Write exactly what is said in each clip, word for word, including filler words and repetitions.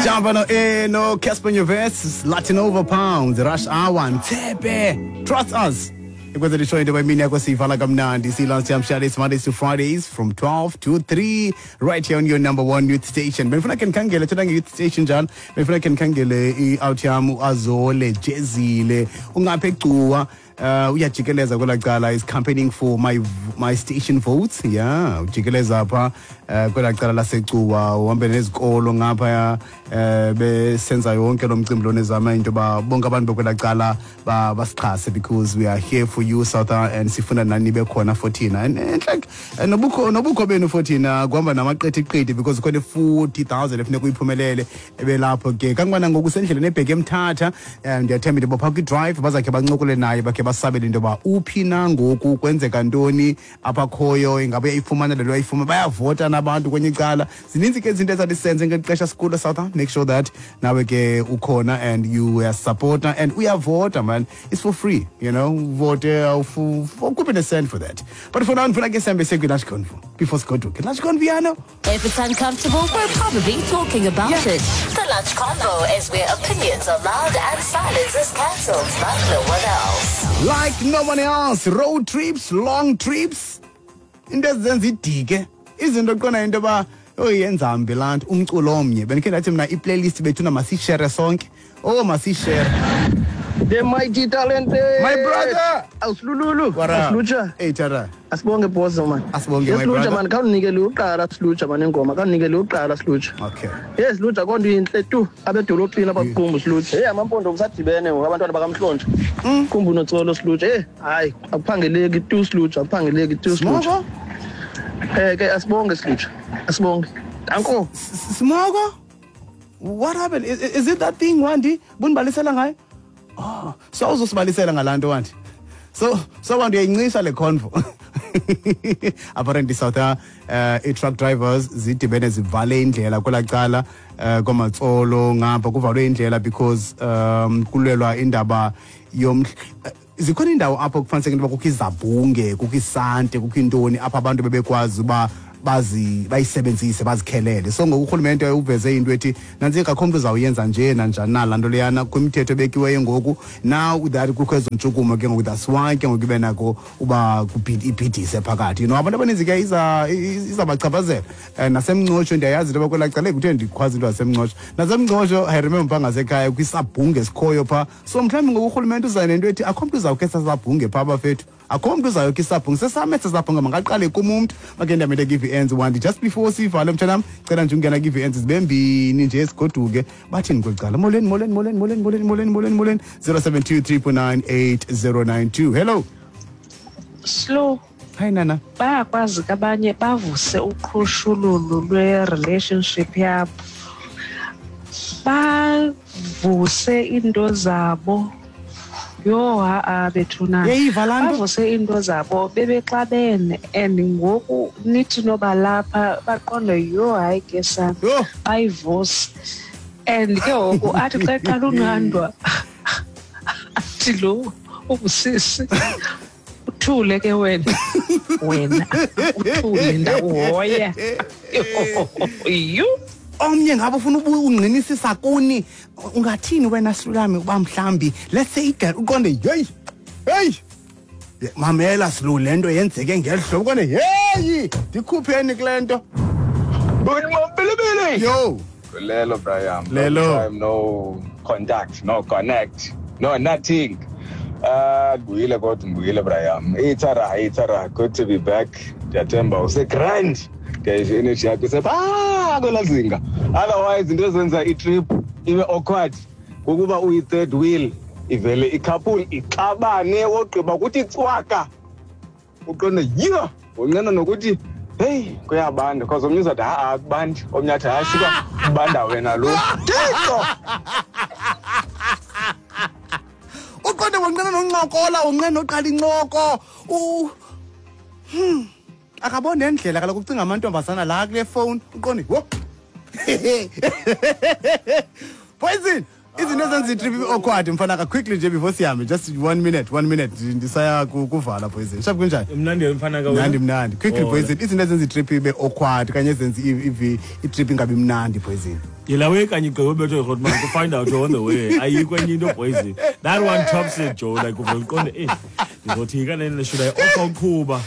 Jump on eh no Casper Nyovest, Latin over Pounds, Rush Hour, Mtepe. Trust us. Ikwenzela ishow into yemini yakho siyivala kamnandi silance yamshale. It's Mondays to Fridays from twelve to three right here on your number one youth station. Benifuna ke ndikhangele, thetha nge-youth station njalo, benifuna ke ndikhangele i-out yam uAzole Jezile ungapha eGcuwa, uh uyajikeleza kwelaa cala, is campaigning for my my station votes. Yeah, ujikeleza pha uh, kwelaa cala laseGcuwa, uhambe nezikolo ngapha, uh, besenza yonke lo mcimbi lona, ezama into yoba bonke abantu bekwelaa cala basixhase because we are here for you, South, and sifuna nani bekhona for thina. and, and like nobukho nobukho benu for thina kuhamba namaqithiqithi because khona forty thousand efuneka uyiphumelele ebelapho ke kangubana ngoku sendleleni ebheke eMthatha. Ndiyathemba into yoba phaa kwi-drive bazakhe bancokole naye, bakhe basabele into yoba uphi na ngoku, kwenzeka ntoni apha khoyo, ingabe uyayifumana le nto uyayifumana, bayavota nabantu kwenye icala. Zininzi ke izinto ezathi senze ngeli xesha sikulo, South. Make sure that nawe ke ukhona and you are supporter and uyavota, man. It's for free you know Vote, awukhuphe ne-cent for that. But for now ndifuna ke sihambe siye kwi-lunch convo before sigoduke. Lunch convo yano. If it's uncomfortable, we're probably talking about yeah. it. The Lunch Convo is where opinions are loud and silence is cancelled like no one else. Like no one else. Road trips, long trips, into ezenza idike, izinto qona into yoba oyenza mbi laa nto, umculo omnye. Bendikhe ndathi mna i-playlist bethuna masiyishere sonke. Oh, masiyishere. The mighty talented. My brother. Awusilululu. Asilutsha. Hey Tara. Asibonge boss man. Asibonge my brother. Man, khawunikele uqala silutsha man ingoma, khawunikele uqala silutsha. Okay. Yes lutsha konto inhle tu abedolophini abakuqumbu silutsha. Hey amampondo kusadibene ngoku abantwana bakaMhlontsha. Qumbu noTsolo silutsha. Hey hayi akuphangeleki tu silutsha, akuphangeleki tu silutsha. Eh ke asibonge silutsha. Asibonge. Danko. Smoko? What happened? Is, is it that thing Wandi? Bunibalisela ngayo? Oh, so uzosibalisela ngalaa nto Wandi. So so Wandi uyayincisa le convo. Apparently South uh, i-truck drivers zidibene zivale indlela kwelaa cala uh, kwaMatsolo ngapha, kuvalwe indlela because um kulwelwa indaba yomhl uh, zikhona indawo apho kufanele into kukho izabhunge, kukho isante, kukho intoni apho abantu bebekwazi uba bazi bayisebenzise bazikhelele. So ngoku urhulumente uveze into ethi nantsi akho mntu uzawuyenza nje nanjani na laa nto leyana kwimithetho ebekiweyo ngoku. Now that kukho ezo ntshukumo ke ngoku, that's why ke ngoku ibe nako uba ibhidise phakathi. You know abantu abaninzi ke iza izabachaphazela. Um naseMngcotsho ndiyayazi into yoba kwelaa cala kuthe ndikhwazi into yaseMngcotsho. NaseMngcotsho I remember phaa ngasekhaya kwisabhunge esikhoyo phaa. So mhlawumbi ngoku urhulumente uza nento ethi akho mntu uzawukhe sasabhunge phaa bafethu. Akho mntu uzayokha isabhunge sesam esi sabhunge makaqale kum umntu. Makhe ndiyamele give ends Wandi just before sivale mtshanam, cela nje ungena give ends zibe mbini nje sigoduke. Bathini kweli cala? Molweni molweni molweni molweni molweni molweni molweni molweni zero seven two three four nine eight zero nine two. Hello. Slow. Hi Nana. Bayakwazi ke abanye bavuse uqhushululu lwe-relationship yabo, bavuse into zabo. Yho ha-a bethuna, bavuse into zabo bebexabene and ngoku nithi noba lapha baqonde yho hayi ke sana, bayivuse. And ke ngoku athi xa eqala unqandwa athi lo ungusisi uthule ke wena, wena uthule ndakuhoya. Yho. Omnye ngabe ufuna ungqinisisa kuni, ungathini wena Silulami uba mhlambi let's say igirl uqonde hey hey mamela Silu le nto yenzeke ngeli hlobo, uqonde hey ndikhupheni kule nto. Yo Lelo Brian. Lelo. Time, no contact, no connect, no nothing. Ah, ngibuyile kodwa ngibuyile Brian. Ithara, ithara, good to be back. Ndiyathemba use grand. Ndiyayiva energy yakho isepha kwelaa zinga. Otherwise into ezenza i-trip ibe awkward kukuba uyi-third wheel, ivele i-couple ixabane wogqiba kuthi cwaka. Uqonde yho, wonqena nokuthi hey kuyabanda because omnye uzathi ha-a akubandi, omnye athi hayi suka kubanda wena lo. Thixo! Uqonde wonqena noncokola, wonqena noqala incoko. U Hmm. Akaboni nendlela kaloku ucinga amantombazana la kule phone uqonde wo. Poison. Izinto ezenza itrip ibe awkward mfana quickly nje before sihambe, just one minute, one minute ndisaya ku- kuvala poison. Sharp, kunjani? Mnandi mfana ka. Mnandi, mnandi. Quickly, Oh, poison. Izinto ezenza itrip ibe awkward kanye ezenza i- i- itrip ingabi mnandi, poison. Yela way kanye gqiba ubethwe Grootman to find out you're on the way. Ayikho enye into, poison. That one tops it, Joe. Like uvele uqonde, eh, ndizothi kanene should I offer uqhuba.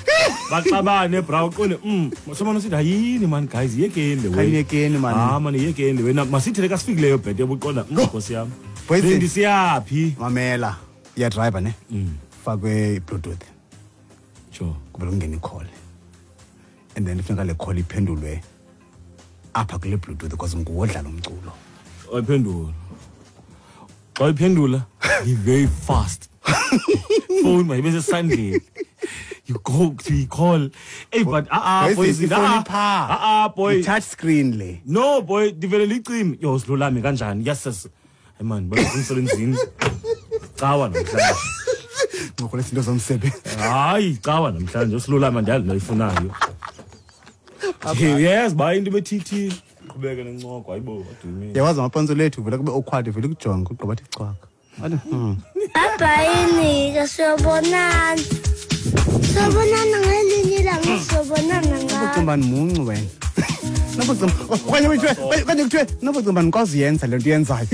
Baxabane bra, uqonde mm somana usithi hayini man guys, yekeni le way. Khanyekeni, man. Ah man, yekeni le way. Na masithi le kasifikileyo bhete ubuqonda mm nkosi yam. Poison. Bendisiyaphi? Mamela. Iya driver ne. Fakwe iBluetooth. Sure. Kuvele kungene i-call. And then kufuneka le call iphendulwe apha kule Bluetooth because nguwo odlala umculo. Ayiphendula. Xa uyiphendula, be very fast. Phone mayibe sesandleni. You go to you call. Hey, but ah ah boy, Poison, ifoni ah pha. ah ah boy. I-touch screen le. No boy, ndivele licime. Yo, silulame kanjani? Yes sis. Hey man, baya emsebenzini. Cawa namhlanje. Ncokola izinto zomsebenzi. Hayi, cawa namhlanje usilulama ndiyazi noyifunayo. Yes, bayi into bethithi. Qhubeke nencoko, hayibo, what do you mean? Yawazi amapantsula lethu vele kube awkward, vele kujonga ugqiba athi cwaka. Athi hmm. Bye-bye, siyobonana. Siyobonana ngelinye ilanga, siyobonana ngalo. Nobucimba muncu wena. Nobucimba okanye kuthiwe okanye kuthiwe nobucimba ndikwazi uyenza le nto uyenzayo.